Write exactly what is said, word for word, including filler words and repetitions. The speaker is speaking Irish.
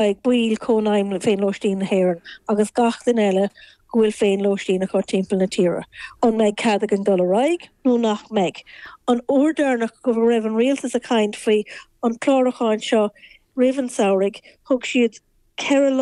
ag baill Cónaidhm Féinlóistín na hÉireann agus gach duine eile go bhfuil féinlóistín acu timpeall na tíre. An mbeidh cead againn dul ar aghaidh nó nach mbeidh. An uair dheireanach go raibh an rialtas ag caint faoi an clárúchán seo roimh an samhradh, thug siad ceithre lá